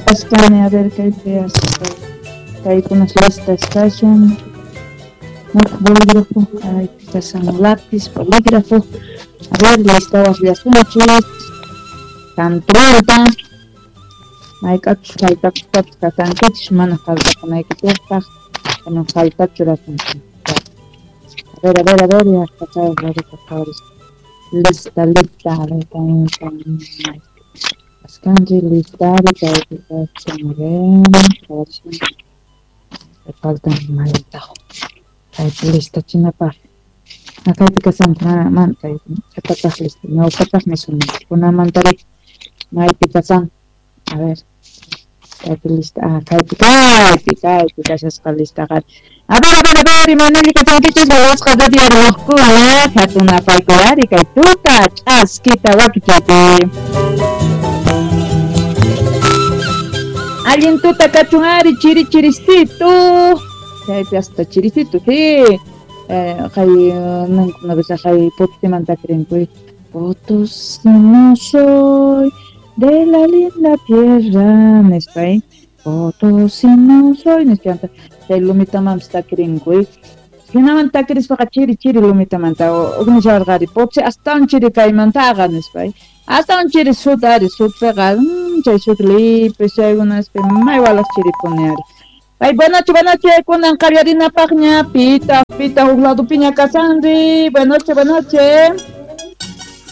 Kachkani, a ver, kaypi kaykunas listas kashan. Bolígrafo, kaypi kashan lápiz, bolígrafo. A ver, lista waqllasunchis. Cantrolta. Mayk'achus faltakuspapas kasankichis mana faltakunaykichikpaq. Kunan faltachu churasunchis. A ver, a ver, a ver, ya está, lista, lista, a ver, también. Paskanchik listari kaypi kachkan, a ver, faltan maytaq kaypi listachinapaq. Kaypi kashan mana kay qhipataq lista ñawpataq nisunman kunamantari maypi kasan. A ver, kaypi lista, kaypi kaypi kaypi kashasqa listaqa. A ver, a ver, a ver, imaynalli kasankichis wawasqa radio ruwaqkuna hatun apaykuari kay tuta ch'askita wakichaypi. Allin tuta kachun ari chiri chiristito. Chaypi hasta chiristito, sí. Kay nankuna kay Potosímanta creen, Potosí no soy de la linda tierra, nispay. Potosí no soy, nispanta. Chay lumitamanpas takirinkuy. Hinaman takirispaqa chiri chiri lumitamanta uknisharqari Potosí astawan chiri kaymantaqa nispay. Astawan chiri sut ari sutpiqa chay sut lipis chaykunaspi may walaq chiripuni ari. Ay, buenas noches, buenas noches, kunan qallarinapaqña, pita, pita, huk ladopiña kasanri. Buenas noches, buenas noches.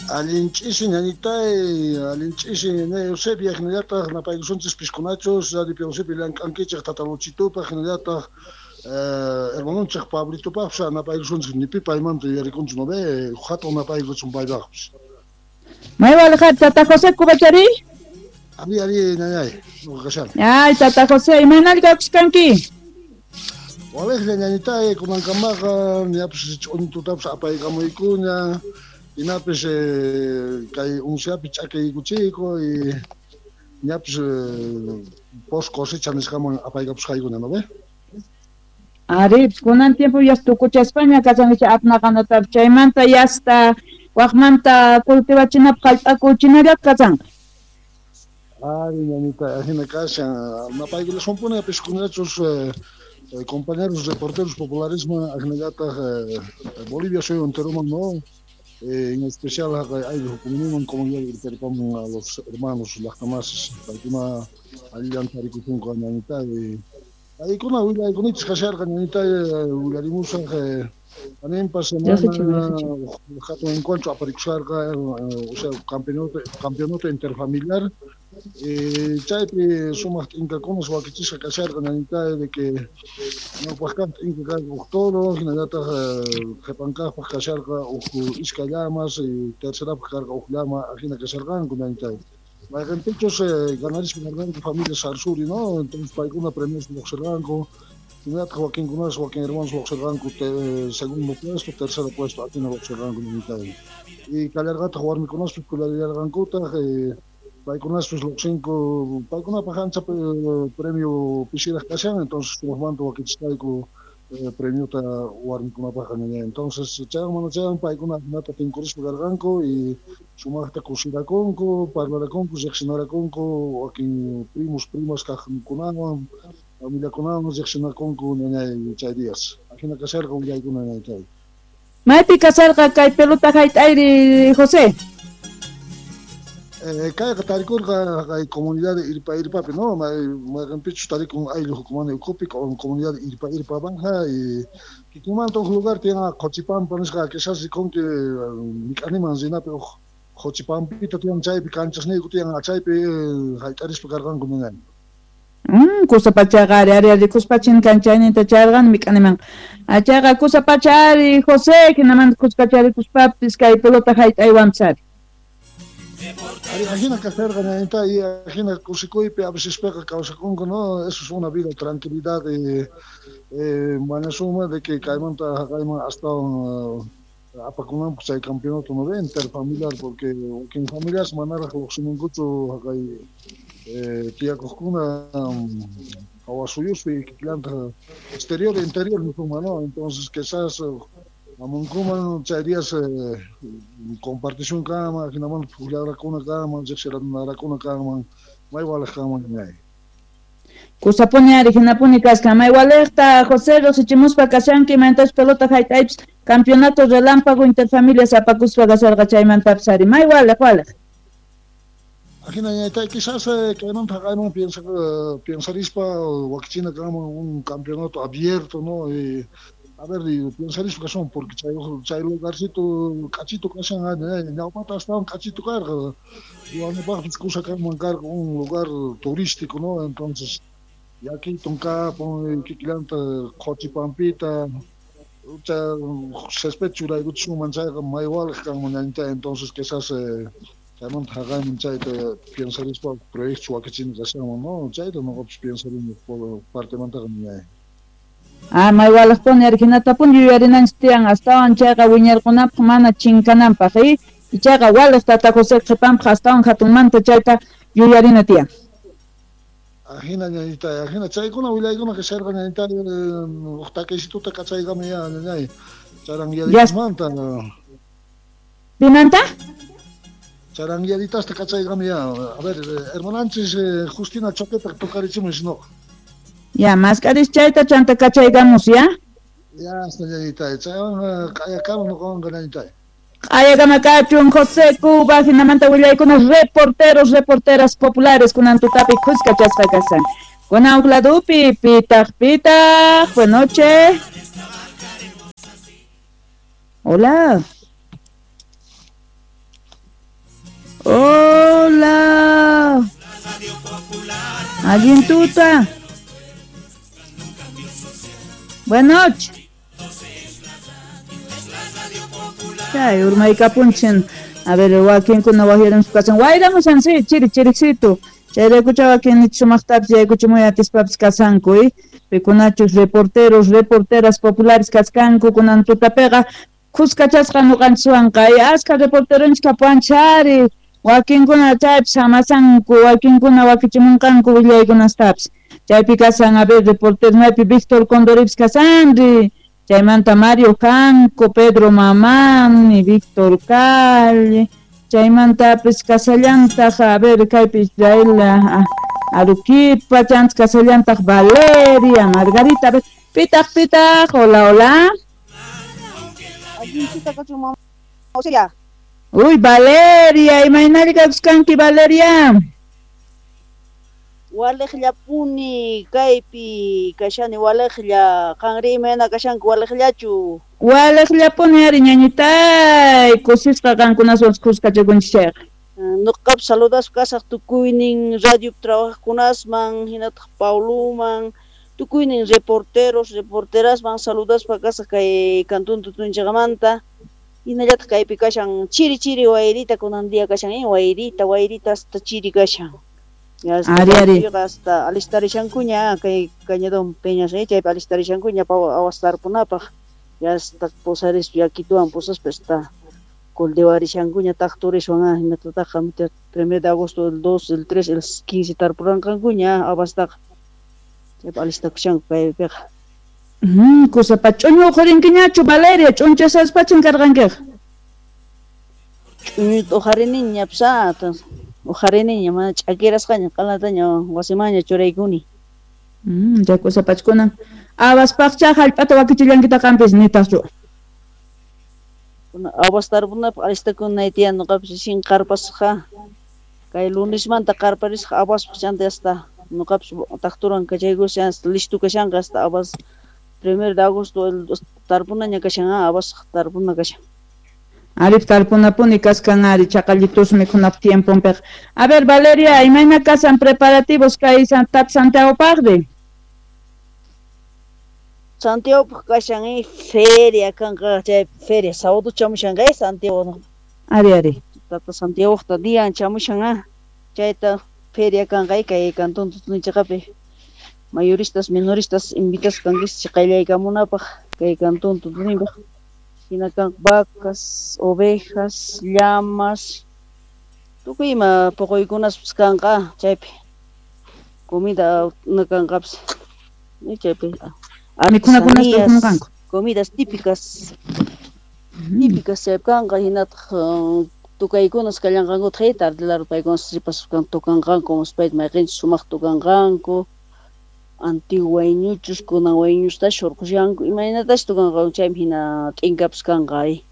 Allin ch'isi ñañitay, allin ch'isi ñañay Eusebia, hinallataq napaykusunchis piskunachus, Radio Eusebia llank'ankichik tata Luchitupaq, hinallataq hermanonchik Pablitupaqpas napaykusunchis nipi paymanta yuyarikunchis no ve, hatun napaykusun paypaqpas. May walqa tata José Cubachari? Ari, ari, ñañay, nuqa kashani. Ay, tata José, imaynalli kawsachkanki? Waliqlla ñañitay, kunankamaqa ñapis ch'untutapas apaykamuykuña. Hinapis kay unsiapi ch'akiykuchiyku y ñapis post cosecha nisqaman apaykapusqaykuna, ¿no ve? Ari, kunan tiempo ya tukuchaspaña kasankichik apnaqanatapas chaymanta yasta waqmanta cultivachinapaq hallp'akuchinallata kasanqa. Ari, ñañita, ajina kashan, napaykullasunpuni piskunachus compañeros reporteros popularismo ajinallataq Bolivia suyu enteroman, ¿no? En especial ayllu comuniman comunidad Irperpaman a los hermanos llaqtamasis paykuna allillanta tarikusunku ñañita paykuna willaykunachis kasharqa ñañita willarimusaq aninpa semana hatun encuentro aparikusharqa, o sea, campeonato interfamiliar chaypi sumaq t'inkakunas wakichisqa kasharqa ñañita de que ñawpaq kaq t'inka karqa huk toro hinallataq qhipan kaqpaq kasharqa huk iskay llamas y tercerapaq karqa huk llama ajina kasharqanku ñañita mayqinpichus ganarispa karqanku familia Sarsuri, ¿no? Entonces paykuna premios lluqsirqanku hinallataq wakinkunas wakin hermanos lluqsirqanku segundo puesto, tercero puesto ajina lluqsirqanku ñañita y kallarqataq warmikunaspis pullallarqankutaq paykunaspis lluqsinku paykunapaq ancha premio pisiraq kashan, entonces sumaqmanta wakichisqayku premiota warmikunapaqqa ñañay. Entonces chaywan mana chaywan paykuna ajinata tinkurispa karqanku y sumaqta kusirakunku, parlarakunku, riqsinarakunku wakin primos, primas kaqkunawan, familiakunawan riqsinakunku ñañay chay días. Ajina kasharqa willaykuna ñañay. Maypi kasharqa kay pelota hayt'ayri, José? Kayqa tarikurqa kay comunidad Irpa Irpapi, ¿no? Mayqinpichus tarikun ayllu hukumani ukhupi comunidad Irpa Irpa Banja y kikinmanta huk lugar tiyan Qochipampa nisqa quizás rikunki mik'animan rinapi huk Qochipampita tiyan chaypi kanchasniyku tiyan chaypi hayt'arispa karqanku ñañay. Kusapachaqa ari ari rikuspacha kanchayninta chayarqani mik'animanqa. Chayqa kusapacha ari José hinamanta kuskacharikuspapis kay pelota hayt'aywanpas ari. Ari, ajina kasharqa ñañita y ajina kusikuypi a veces piqa kawsakunku, ¿no? Eso es una vida tranquilidad y mañasuma de que kaymanta haqayman astawan apakunanpaq chay campeonato no ve interfamiliar porque wakin familias manaraq lluqsimunkuchu haqay tiyakuqkuna hawa suyuspi kikillantaq exterior e interior nisuma, ¿no? Entonces quizás Amunkuman chay días compartición kanman, hinaman pukllarakuna kanman, riqsinarakuna kanman, may waliq kanman ñay. Kusapuni ari hinapuni kaskan may waliqta José riqsichimuspa kashanki mayntachus pelota hayt'aypis campeonato relámpago interfamilias apakuspa kasharqa chaymantapis ari may waliq waliq. Ajina ñaytay quizás kaymanta haqayman piensarispa wakichina kanman un campeonato abierto, ¿no? Y, a ver, piensarispa kasun porque chay lugarcito k'achito kashan ñawpata astawan k'achito karqa ruwanapaqpis kusa kanman karqa un lugar turístico, ¿no? Entonces yakitun kapun kikillanta qhuchipampita césped churaykuchisunman chayqa may waliq kanman ñañitay. Entonces quizás chaymanta haqayman chayta piensarispa proyecto wakichina kashanman, ¿no? Chayta nuqapis piensarini partemantaqa ñay. Ah, may waliqpuni ari hinatapuni yuyarinanchik tiyan astawan chayqa wiñarqunapaq mana chinkananpaq ichaqa waliq tata José qhipanpaq astawan hatunmanta chayta yuyarina tiyan. Ajina ñañitay, ajina chaykuna willaykuna kasharqa ñañitay uq takisituta kachaykami ya ñañay charanguiaditasmanta. ¿Pimanta? Charanguiaditasta kachaykami ya. A ver, hermananchis Justina Choqueta tocarichimus no. Ya, mask'aris chayta chanta kachaykamus, ya? Ya, hasta ñañitay, chaywan q'ayakama nuqawanqa ñañitay. Q'ayakama kachun José Cuba, hinamanta willaykuna reporteros, reporteras populares kunan tutapi khuskachasqa kasan. Kunan uqladupi, pitaq, pitaq, buenas noches. Hola. Hola. Allin tuta. Buenas noches. Chay urmaykapunchin. A ver, wakinkuna waqyarin kasan. Wayramushan sí, chiri chiriqsitu. Chayraykucha wakin sumaqtapis yaykuchimuy atispapis kasanku, pikunachus reporteros, reporteras populares kaskanku kunan tutapiqa khuskachasqa nuqanchiswanqa. Askha reporteronchis kapuanchari. Wakinkuna chaypis hamasanku, wakinkuna wakichimunqanku willaykunastapis. Chaypi kasan, a ver, reporteros maypi Víctor Condoripis kasanri. Chaymanta Mario Janco, Pedro Mamani, Víctor Calle, chaymantapis kasallantaq, a ver, kaypi Israel Aruquipa, chantaq kasallantaq Valeria, Margarita, a ver, pitaq, pitaq, hola, hola. Uy, Valeria, imaynalli kakuskanki, Valeria? Waliqllapuni kaypi kashani waliqlla, qanri imayna kashanki waliqllachu? Waliqllapuni ari ñañitay, kusisqa qankunaswan khuskachakunchik chayqa. Nuqapas saludaspa kasaq tukuynin radio trabajaqkunasman, hinataq Pauluman, tukuynin reporteros, reporterasman saludaspa kasaq kay Cantón Tutunchaqmanta. Hinallataq kaypi kashan chiri chiri wayrita kunan día kashan, wayrita, wayrita hasta chiri kashan. Ari, ari. Hasta alistarishankuña kay Cañadón Peñas, chaypi alistarishankuña awas tarpunapaq. Ya hasta posarispa yakituwan posaspa hasta cultivarishankuña taqturiswan hinatataqa 1 de agosto, el 2, el 3, el 15 tarpuranqankuña awastaqa. Chaypi alistakushanku kaypiqa. Kusapa ch'uñu uqharinkiñachu Valeria, ch'unchasaspachin karqankiqa. Ch'uñuta uqhariniña psa, uqhariniña mana ch'akirasqaña q'alataña wasimanña churaykuni. Chay kusapachkunan awaspaqcha hallp'ata wakichillankitaq qampis nitaqchu. Awas tarpunapaq alistakunay tiyan nuqapis sin qarpasqa kay lunesmanta qarparisqa awaspaq chanta hasta nuqapis taqturan kachaykushan hasta listo kashanqa hasta awas 1 de agosto tarpunaña kashan awasqa tarpuna kashan. Arif tarpunapuni kaskan ari chaqallitus mikhunap tiemponpiqa. A ver, Valeria, imayna kasan preparativos kay tap Santiagopaqri? Santiagopaq kashan feria kanqa chay feria sábado chamushanqa Santiago. Ari, ari. Tata Santiagopaqta dian chamushan chayta feria kanqa kay Cantón Tutunchaqapi. Mayoristas, menoristas invitasqa kankichis qallaykamunapaq kay Cantón Tutunipaq. Hina kan vacas, ovejas, llamas, tukuy ima puquykunaspas kanqa chaypi. Comida kanqapis chaypi. Artesanías, comidas típicas. Típicas chaypi kanqa hinataq tukaykunas kallanqankutaq tardelar paykunas sipasqa tukanqanku muspayta mayqinchus sumaq tukanqanku antiguo wayñuchus kunan wayñustash hurqushanku imaynatash tukanqanku chaymi hina t'inkapas kanqa ari.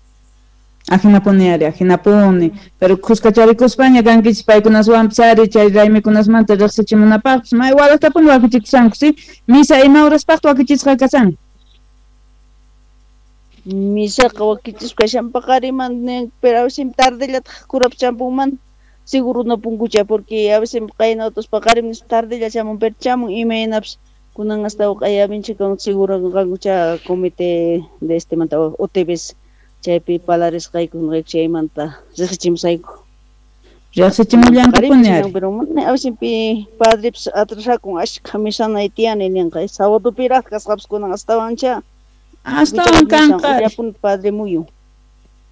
Ajinapuni ari, ajinapuni. Pero khuskacharikuspaña kankichis paykunaswanpas ari chay raymikunasmanta riqsichimunapaqpis may walaqtapuni wakichikushanku, si? Misa ima horaspaqta wakichisqa kashan? Misaqa wakichisqa kashan paqariman pero a veces tardellataq kurap champunman seguro no punkucha porque a veces qayna otros paqarim tardella chamun pero chamun imaynapas kunan hasta q'ayaminchik seguro kankucha comité de este manta OTBs chaypi palarisqayku nuqayku chaymanta riqsichimusayku. Riqsichimullankupuni ari. Pero a veces pi padrepis atrasakun ashkha misanay tiyani ninqa sabadopiraq kasqapas kunan astawancha. Astawan kanqa. Padre muyu.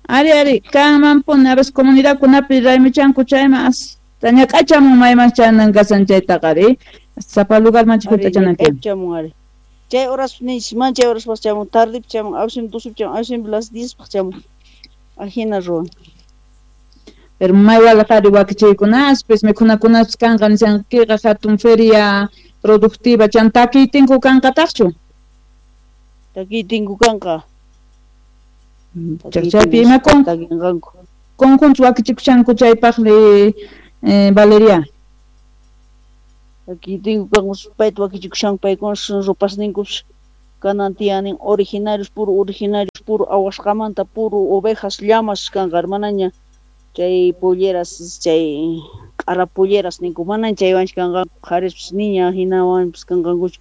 Ari ari kanmanpuni a veces comunidadkunapi raymichanku chayman hasta ñak'achamun mayman chanan kasan chaytaqa ari sapa lugarmanchik hunt'achanan tiyan. Chamun ari. Chay horas ninchis man chay horas chamun tardepi chamun a veces 12 chamun a veces las 10 paq chamun. Ajina ruwan. Pero may walaq ari wakichiykunaspis mikhunakunaspis kanqa nishankiqa hatun feria productiva chan takiytinku kanqataqchu? Takiytinku kanqa. Chaypi ima conjunto wakichikushanku chaypaqri Valeria? Takiytinku kanqa payta wakichikushanku paykunas ropasninkupas kanan tiyanin originarios puro awasqamanta puro ovejas llamas kanqa manaña chay polleras chay q'ara polleras ninku manan chaywanchu kanqanku qharispas niña hinawanpas kanqankuchu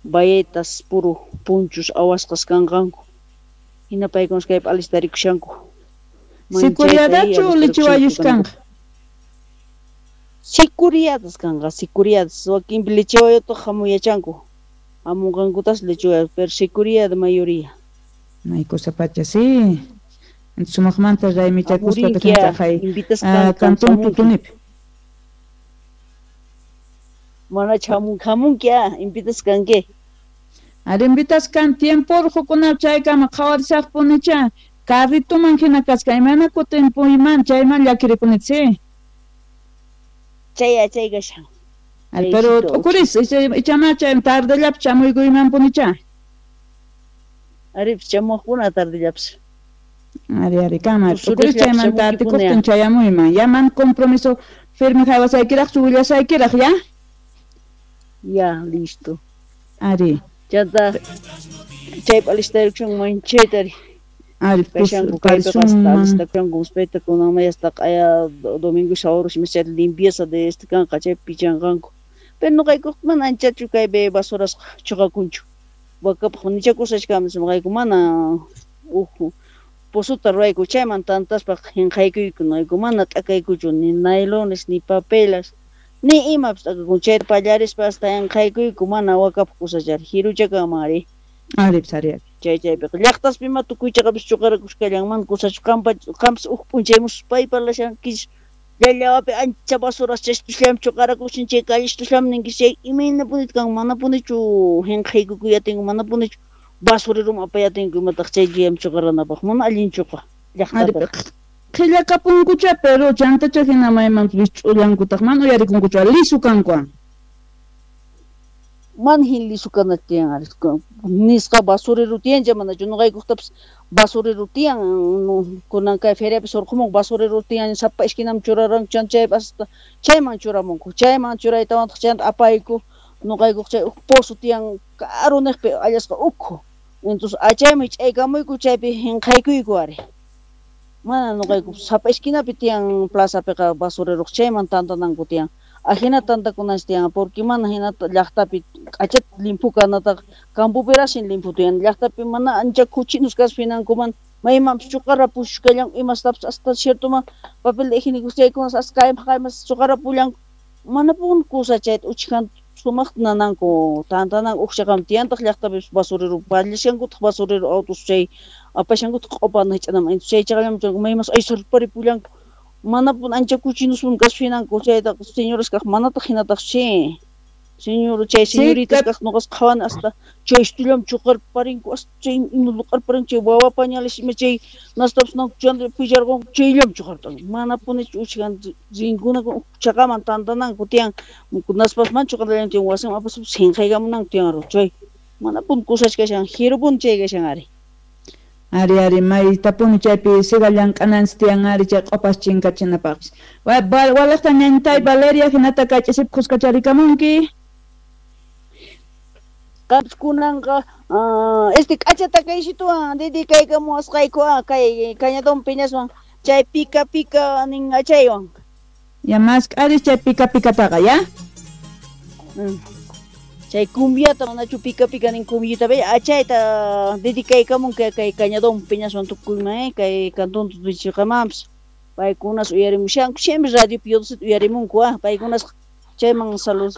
bayetas puro punchos awasqas kanqanku hina paykunas kaypi alistarikushanku. Sicuriadachu lichiwayush kanqa? Sicuriadas kanqa, sicuriadas wakinpi lichiwayutaq hamuyachanku hamunqankutas lichiwayu pero sicuriada mayoría. May cosa pacha, sí. Sumaqmanta raymichakuspa kashanchaqay cantón Tutunipi. Mana hamunki invitas kanki. Ari invitas kan tiempo urqukuna chaykama qhawarisaqpunicha carrituman hina kasqa imayna kutinpuyman chayman llakirikuni, sí. Chay chay kashan. Ari pero t'ukuris ichama chay tardellapi chamuykuymanpunicha. Ari chamuqkuna tardellapis. Ari ari kama t'ukuris chaymanta atikuqtin chayamuyman ya man compromiso firme haywasaykiraqchu willasaykiraq ya. Ya listo. Ari. Chanta chaypi alistarikushanku manchayta ari. Ari kashanku kaypiqa hasta alistakushanku muspayta kunanmay hasta q'aya domingo sábado chayta limpieza de este kanqa chaypi pichanqanku. Pero nuqaykuqa mana anchachu kaypi basurasqa chuqakunchu. Wakapaq nichakusachkamis nuqayku mana uj pozuta ruwayku chayman tantaspa hinqaykuyku nuqayku mana t'akaykuchu ni nailones ni papelas ni imapas t'akakun chayta pallarispa hasta hinqaykuyku mana wakapaq kusachari hiruchakanman ari. Ari ari ari. Chay chaypiqa llaqtaspi ima tukuy chaqapis chuqarakushkallanman kusachu qampas uj p'unchay muspay parlashankis llallawapi ancha basuras chaystusllam chuqarakushin chay callistuslam ninkis chay imaynapuni kanman manapunichu hinqaykukuyatinku manapunichu basurerum apayatinku imataq chay llam chuqaranapaq mana allinchuqa llaqtapiqa. Qhillakapunkucha pero chantacha hina maymanpis wisch'ullankutaq mana uyarikunkuchu lisu kanku. Man hin lisu kana tiyan ari nisqa basurero tiyancha manachu nuqaykuqtapas basurero tiyan kunan kay feriapi surqumunku basurero tiyan sapa esquinaman churaranku chanta chaypas chayman churamunku chayman churaytawantaq chanta apayku nuqaykuq chay uj pozo tiyan karu niqpi allasqa ukhu entonces achayman ch'aykamuyku chaypi hinqaykuyku ari. Mana nuqayku sapa esquinapi tiyan plazapiqa basureroq chayman tantananku tiyan. Ajina tantakunanchis tiyan porque mana hinata llaqtapi k'achata limpu kanataqa campopirashin limpu tiyan llaqtapi mana ancha kuchinus kaspa hinankuman maymanpis chuqarapushkallanku imastapis hasta ciertoman papel higiénico chaykunas hasta kayman kayman chuqarapullanku manapuni kusa chayta uchkhanta sumaqta nananku tantananku uqchaqami tiyantaq llaqtapi basurero pallashankutaq basurero autos chay apashankutaq q'upana hich'anaman chay chaqallaman maymas aysarparipullanku manapuni ancha kuchinuspuni kaspa hinanku chaytaqa señoras kaq manataq hinataq chi. Señor, chay señoritas kaq noqas qhawan hasta chay estullam chuqarparinku hasta chay inuqarparinku chay wawa pañales ima chay nastapas chanta pillarqunku chayllam chuqartan manapunichu uchkan rinkuna chaqaman tantananku tiyan naspas man chuqartallan tiyan wasiman apaspa sinqaykamunanku tiyan chay manapuni kusachkashan jirupuni chay kashan ari. Ari ari maytapuni chaypi siga llank'ananchis tiyan ari chay q'upas chinkachinapaqpis. Walaqta ñañtay Valeria hinata kay ch'isipi kuskacharikamunki. Qampas kunanqa este k'achata kaysituwan dedicaykamuwasqayku kay Cañadón Peñaswan chay pika pika nin achaywan. Ya mask'aris chay pika pikataqa ya. Chay cumbiata manachu pika pika nin cumbiata achayta dedicaykamun kay Cañadón Peñaswan tukuyman kay cantón tutuchiqamanpis paykunas uyarimushanku siempre radio Piodosita uyarimunku paykunas chayman salud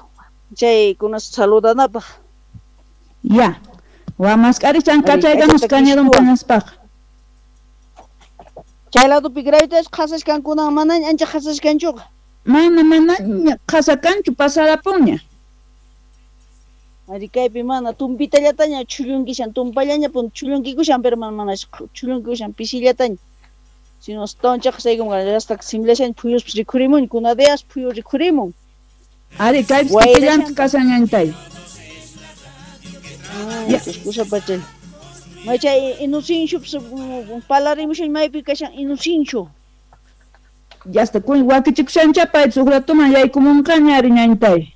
chaykunas saludanapaq. Ya, wa mask'aris kachaykamus Cañadón Peñaspaq. Chay ladopi gravitas qhasashkankunan manaña ancha qhasashkanchuqa. Mana manaña qhasakanchu pasarapunña. Ari kaypi mana tumpitallataña chhullunkishan tumpallaña pun chhullunkikushan pero mana chhullunkishan pisillataña. Sino astawan chaqsaykuman hasta simlashan phuyuspas rikhurimun kunadeas phuyu rikhurimun. Ari kaypis kikillantaq kashan ñañtay. Ya, kusa pachal. Machay Inocencio palarimushan maypi kashan Inocencio. Ya está kun wakichikushancha paypis huk ratuman yaykumunqaña ari ñañtay.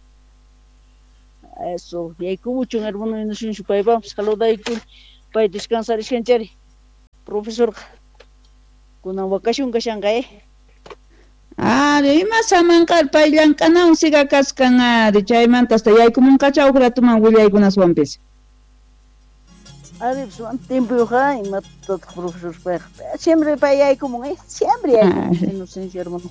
Eso, yaykumuchun hermano Inocencio paypaqpis saludaykun pay descansarishkanchari. Profesor kunan wakashun kashanqa Ari ima samanqar pay llank'anawan siga kaskan ari chaymanta hasta yaykumunqacha huk ratuman willaykunaswanpis. Ari pues tiempo imatataq profesor payqa siempre pay yaykumun siempre yaykumun Inocencio hermano.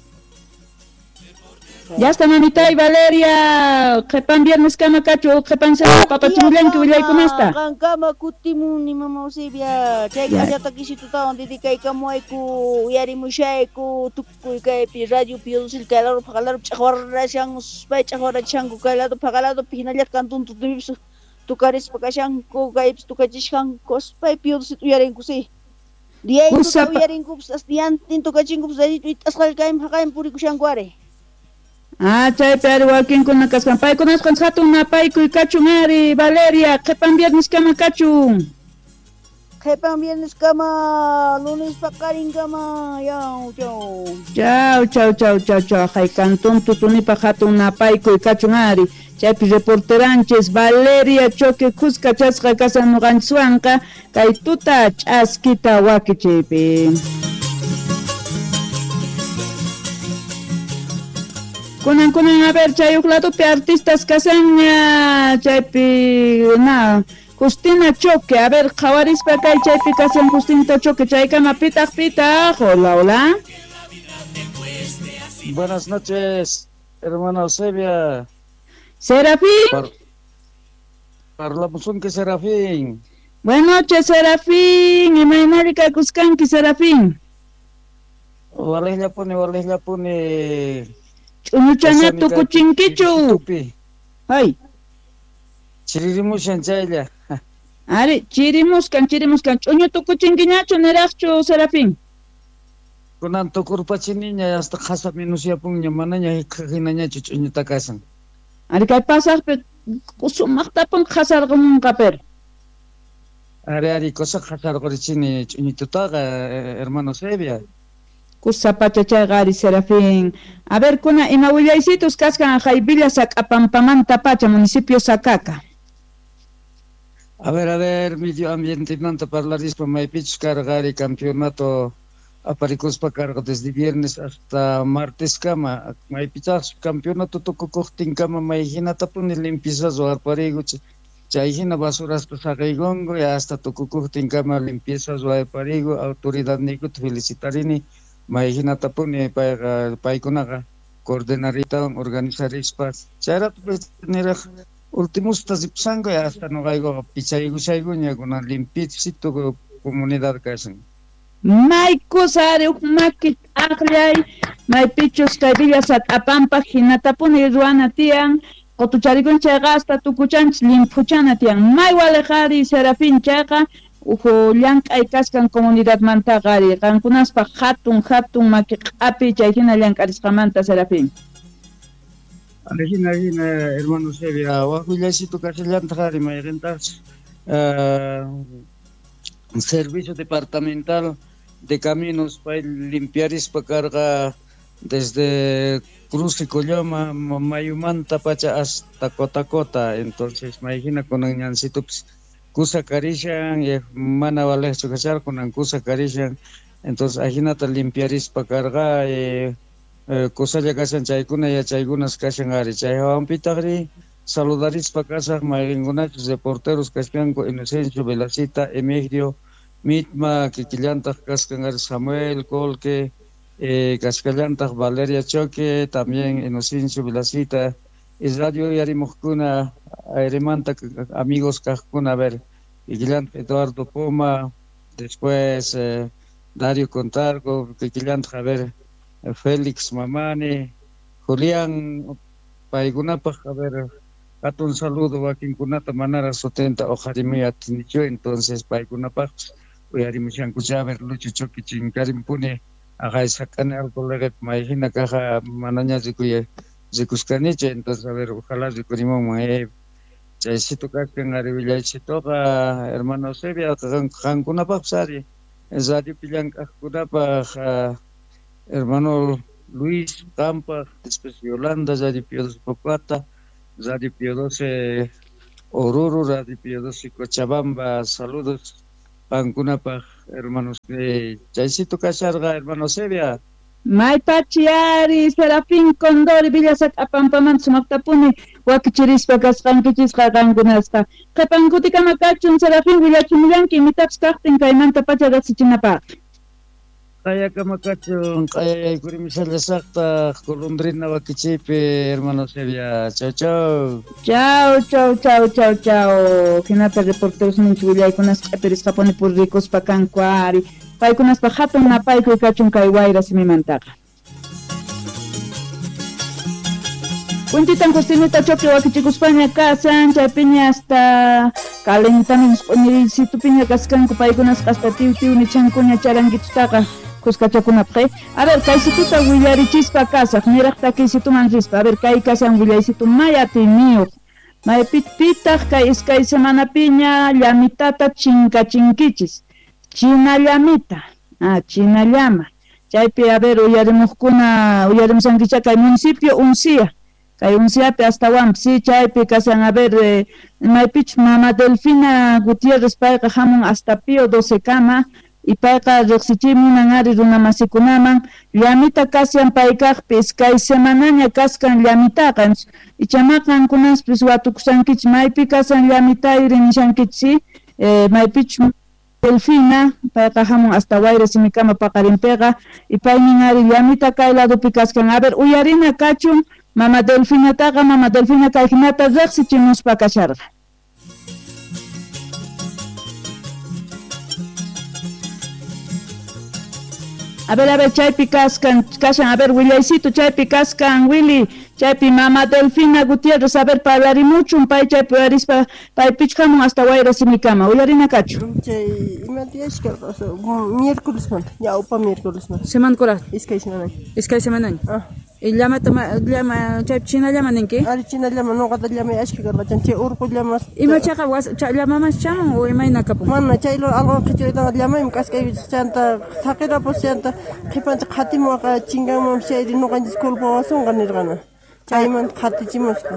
Ya está mamitay Valeria, qhipan viernes kama kachu, qhipan semana papachimullanki willaykunasta. Qankama kutimuni mama Eusebia, chay k'achata kisitutawan dedicaykamuwayku uyarimushayku tukuy kaypi radio Piodosita kay lado paqalado ch'aqwarashan pay ch'aqwarachishanku kay lado paqaladopi hinallataq cantón tutumipis tukarispa kashanku kaypis tukachishanku pay Piodosita uyarinku si. Diyaytuta uyarinkupis hasta diantin tukachinkupis it'asqalla kayman haqayman purikushanku ari. Ah, chaypi ari wakinkuna kaskan paykunasqan hatun napaykuy kachun ari Valeria, qhipan viernes kama kachun. Qhipan viernes kama lunes paqarinkama yaw chau. Chau chau chau chau chau hay cantón tutunipaq hatun napaykuy kachun ari chaypi reporteranchis Valeria Choque kuska chasqa kasan nuqanchiswanqa kay tuta ch'askita wakichiypi. Kunan kunan a ver chay huk ladopi artistas kasanña chaypi na Justina Choque a ver qhawarispa kay chaypi kasan Justinita Choque chaykama pitaq pitaq hola hola. Buenas noches, hermana Eusebia. Serafín. Parlamus que Serafín. Buenas noches, Serafín. Imaynari kaykuskanki Serafín. Walejllapuni walejllapuni. Ch'uñuchana tukuchinkichu. Ay. Chirimushan chaylla. Ari, chirimuskan, chirimuskan. Ch'uñu tukuchinkiñachu niraqchu, Serafín. Kunan tukurpachiniña hasta qhasa minusyapunña manaña hinañachu ch'uñuta kasan. Ari kay pasaqpi sumaqtapun qhasarqumunqa pero. Ari ari cosa qhasarqurichini ch'uñututaqa hermano Sevia. Kusa pachachayqa ari Serafín. A ver, kuna ima willaysitus kaskan hay Villa Sac'apampamanta pacha, municipio Sacaca. A ver, medio ambientemanta parlarispa maypichus karqa ari campeonato aparikuspa karqa desde viernes hasta martes kama maypichaq campeonato tukukuqtinkama may hinatapuni limpieza ruwarpariku chay hina basuraspa saqiykunku hasta tukukuqtinkama limpieza ruwarpariku autoridadniykuta felicitarini may hinatapuni payqa paykunaqa coordinaritawan organizarispa chayratu niraq ultimusta ripsanku hasta nuqaykuqa pichaykushaykuña kunan limpiecito comunidad kashan. Maykusa ari huk maki aqllay maypichus kay Villa Sac'apampa hinatapuni ruwana tiyan Qotucharikun chayqa hasta tukuchanchis llimphuchana tiyan. May waliqari Serafín chayqa uhu llank'ay kaskan comunidadmantaqa ari qankunaspaq hatun maki q'api chay hina llank'arisqamanta Serafín. Hina hermano Sevia, waq willaysitu kashallantaq ari mayqintaqchus Servicio Departamental de Caminos pay limpiarispa karqa desde Cruce Colloma, Mayumanta pacha hasta Cotacota, entonces mayhina kunan ñansitupis kusa karishan, mana valeqchu kasharqa kunan kusa karishan, entonces ajinata limpiarispa karqa kusalla kashan chaykuna yachaykunas kashan ari chay hawanpitaqri saludarispa kasaq mayqinkunachus reporteros kashkanku Inocencio Velacita, Emigdio Mitma, kikillantaq kaskan ari Samuel Colque, kashkallantaq Valeria Choque, también Inocencio Velacita, y radio uyarimuqkuna airemanta amigos kaqkuna, a ver, kikillantaq Eduardo Poma, después Dario Contargo, kikillantaq, a ver, Félix Mamani, Julián paykunapaq, a ver, hatun saludo wakinkunata manara sutenta uqharimuy atinichu, entonces paykunapaqpis uyarimushankucha, a ver, Lucho Choque chinkarimpuni aqay sak'ani alcoholeqep mayhina kaqa manaña rikushkanichu, entonces a ver, ojalá rikurimunman chaysitu kachkan ari willaysituqa hermano Eusebia qankunapaqpis ari radiopi llank'aqkunapaq hermano Luis qampaq, después Yolanda, Radio Pío XII Pocata, Radio Pío XII Oruro, Radio Pío XII Cochabamba, saludos qankunapaq hermanos chaysitu kasharqa hermano Eusebia. Maypachi ari Serafín Condori Villa Sac'apampamanta sumaqtapuni wakichirispa kasqankichisqa qankunasqa. Qhipankutikama kachun Serafín willachimullanki imitapis kaqtin kaymanta pacha riqsichinapaq. Q'ayakama kachun q'ayayaykurimishallashaqtaq golondrina wakichiypi hermano Eusebia. Chau chau. Chau chau chau chau chau. Hinata reporteros ninchik willaykunas q'ipirisqapuni purrikuspa kanku ari. Paykunaspa hatun napaykuy kachun kay wayra simimantaqa. Kuntitan Justinita Choque wakichikuspaña kasan, chaypiña hasta calentamientos q'uñirisitupiña kaskanku paykunasqa hasta tiw tiw nichankuña charanguitutaqa kuskachakunapaq. A ver, kaysituta willarichispa kasaq, niraq takiysituman rispa. A ver, kay kasan willaysitu may atiyniyuq. Maypitaq kay iskay semanapiña llamitata chinkachinkichis. China llamita, china llama. Chaypi, a ver, uyarimuqkuna, uyarimusankicha kay municipio Uncia. Kay Unciapi hasta Huampi, chaypi kasan, a ver, maypich mama Delfina Gutiérrez payqa hamun hasta Pío XII kama, y payqa riqsichimunan ari runamasikunaman, llamita kasyan paykaqpi iskay semanaña kaskan llamitaqa, ichama qankunaspis watukusankichik maypi kasan llamitayri nishankichik, maypich Delfina, payqa hamun hasta Wayra simikama paqarinpiqa, y paynin ari llamita kay ladopi kaskan. A ver, uyarina kachun mama Delfinataqa, mama Delfina kay hinata riqsichimuspa kasharqa. A ver, chaypi kaskan, kashan, a ver, willaysitu, chaypi kaskan, Willy, chaypi mama Delfina Gutiérrez, a ver, parlarimuchun, pay chaypi uyarispa, paypich hamun hasta Wayra simikama, uyarina kachu. Chay, imatiyashka, miércoles manta, ñawpa miércoles manta. Semana kura? Iskay semana. Iskay semana. Ah. Llamata, llama, chaypi china llama ninki? Ari china llama, nuqata llama ashka karqa, chay urqu llamas. Ima chaqa llamamas chamun o imayna kapun? Mana, chaylo algo qhichuritaqa llamaymi k'askaypi chanta saqirapus chanta qhipancha qhatimuwaqa chinkanman chayri nuqanchis culpawasunqa nirqana. Chaymanta qhatichimusqa.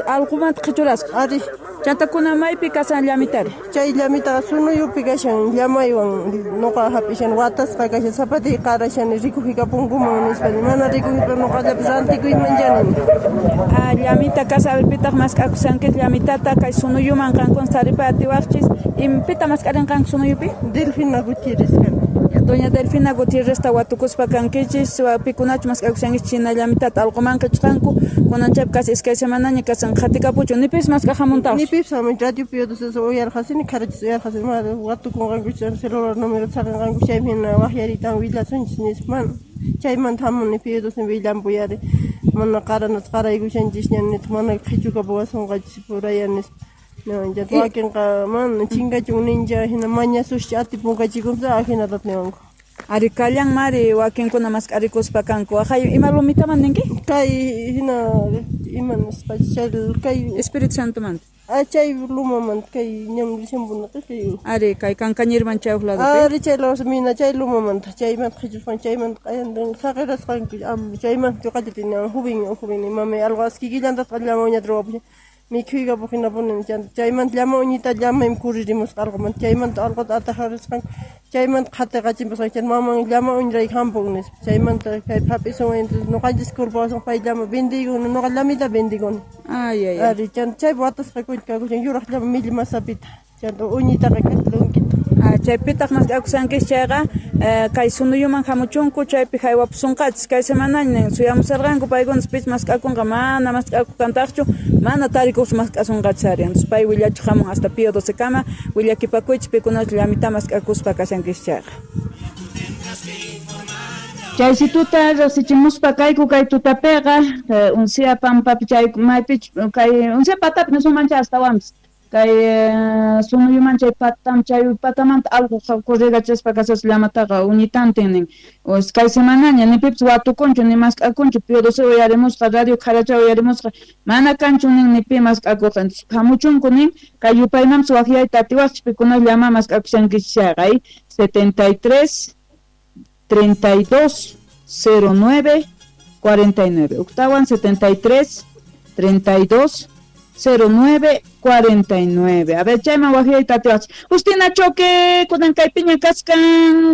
Allqumanta qhichurasqa. Ari. Chanta kuna maypi kasan llamitari? Chay llamitaqa sunuyupi kashan llamaywan nuqa hap'ishan watasqa kashan zapatiy qarashani rikujikapunkuman nispa mana rikujipa nuqallapis rantikuyman chani. Llamita kasa, a ver, pitaq mask'akusankichik llamitata kay sunuyuman qankuna taripay atiwaqchis. Pita mask'arinqanku sunuyupi? Delfina Gutiérrez kan. Doña Delfina Gutiérrez ta watukuspa kankichis, pikunachu mask'akushankichik china llamitata allquman qichqanku, kunan chaypi kasi iskay semanaña kasan qhatikapuchu, nipis mask'aq hamuntaqchu? Nipis hamun, radio Pío XII uyarqasini, kharachis uyarqasini, mana watukunqanku celular número saqinqanku chaymi hina waqyaritan willasunchis nispa mana. Chaymanta hamuni Pío XII willanpuyari. Mana qaranata qaraykushanchisña nitaq mana qhichukapuwasunqachis puraya nispa. Niwan wakinqa mana chinkachun nincha hina mañasuscha atipunkachikunsa ajinata niwanku. Ari kallanmari wakinkuna mask'arikuspa kanku. Ajay ima lumitaman ninki? Kay hina ima nispa chay kay Espíritu Santomanta. Ah, chay lumamanta kay ñam rishampunaqa kay. Ari kay Kankañirman chay uq ladopi. Ari chay lado mina chay lumamanta chaymanta qhichusqan chaymanta q'ayantin saqirasqanku chaymanta ñuqallata niwan jubin mamay algo askikillantataq llama uñata ruwapushan mikhuykapuq hinapuni chaymanta llama uñita llamaymi kuririmusqa alqumanta chaymanta alquta atajarisqanku chaymanta qhatiqachimpusqanku chay maman llama uñirayku hampun nispa chaymanta kay hap'isun ñuqanchis culpawasun pay llama vendiykuni ñuqa llamita vendiykuni. Ay ay. Ari chanta chay watasqa kakushan yuraq llama millmasapita chanta uñitaqa k'atlunkita. Chaypitaq mask'akushankis chayqa kay sunuyuman hamuchunku chaypi haywapusunqachis kay semanaña suyamusarqanku paykunas pich mask'akunqa mana mask'akukantaqchu mana tarikuqchu mask'asunqachis ari. Entonces pay willachiq hamun hasta Pío XII kama willakipakuychis pikunachu llamita mask'akuspa kashankis chayqa. Chaysituta riqsichimuspa kayku kay tutapiqa uncia pampapi chay maypich kay uncia patapi nisunmancha astawanpis kay sunuyuman chay patam chay patamanta alqu corregachaspa kasas llamataqa uñitantin nin kay semanaña ni pipis watukunchu ni mask'akunchu Pío XII uyarimusqa radio Qharacha uyarimusqa mana kanchu nin ni pi mask'akuqa. Entonces hamuchunku nin kay yupaymanpis waqyayta atiwaqchis pikuna llama mask'akushankichis chayqa 73 32 09 49 octawan 73 32 09 49. A ver, chayman waqyayta atiwaqchis. Justina Choque, kunan kaypiña kaskan.